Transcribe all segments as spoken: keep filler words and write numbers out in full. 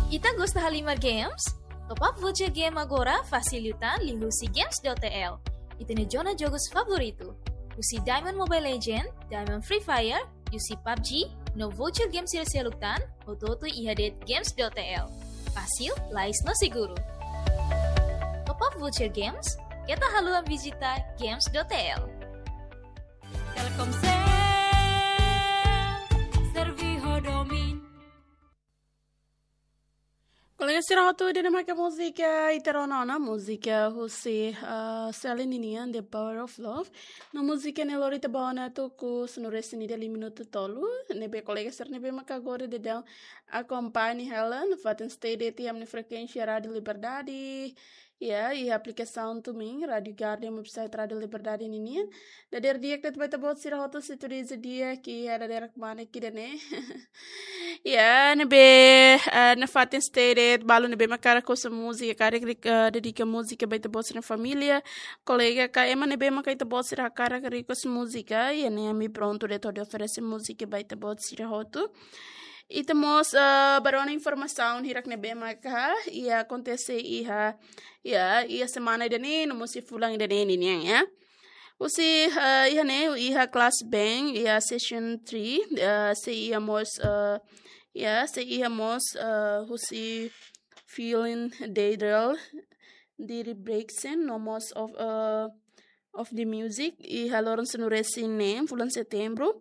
Ita gosta halimar games? Top up voucher game agora fasil liután liuhusi games dot T L. Ita-nia zona jogus favoritu. Husi Diamond Mobile Legend, Diamond Free Fire, husi PUBG, no voucher games sira seluk tan, hotu-hotu iha de'it games dot T L. Fasil, lais no seguru. Top up voucher games, keta haluha vizita games dot T L. Telkomsel, servi ho domin. Kolega sira hotu, ida-ne'e maka múzika ita rona ona, múzika husi, ah, Celine ninian, The Power of Love. No múzika ne'e lori ita ba ona tuku sanulu-resin-ida, lima minutu tolu. Ne'ebé kolega sira ne'ebé maka agora daudaun akompaña hela nafatin stay de'it iha ami-nia frekuénsia Rádio Liberdade. Ya, iha aplikasaun Tumin, Rádio Garden, website Rádio Liberdade ninian. Dadeer di'ak ba ita-boot sira hotu, sintoniza di'ak iha dadeer kmane ida-ne'e. Ya, ne'ebé, eh, nafatin stay de'it, balu ne'ebé maka hakarak husu múzika, hakarak ri-, eh, dedika múzika ba ita-boot sira-nia família, kolega ka ema ne'ebé maka ita-boot sira hakarak request múzika, ya ne'e ami prontu de'it hodi oferese múzika ba ita-boot sira hotu. Ita mós, eh, bá rona informasaun hirak ne'ebé maka, ya akontese iha, ya, iha semana ida-ne'e, no mós iha fulan ida-ne'e ninian, ya. Husi, eh, iha ne'e, iha Clash Bang, iha Session three, eh, sei iha mós, eh, ya, sei iha mós, eh, husi Feeling Daydream, Diri Brexen, no mós of, eh, of the Music, iha loron sanulu-resin-neen, fulan Setembru.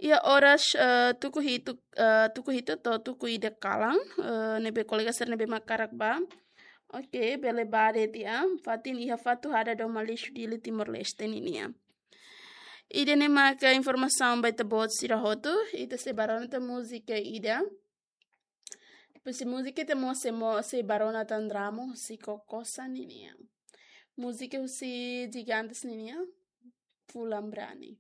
Iha oras, eh, tuku hitu, eh, tuku hitu to'o tuku ida kalan, eh, ne'ebé kolega sira ne'ebé maka hakarak bá. Oke, bele bá de'it iha, fatin iha Fatuhada domin lixu Dili Timor-Leste ninian. Ida-ne'e maka informasaun ba ita-boot sira hotu, ita sei bá rona tan múzika ida. Husi múzika ita mós sei mo-, sei bá rona tan drama husi Kokosa ninian. Múzika husi Gigantes ninian, Fulan Brani.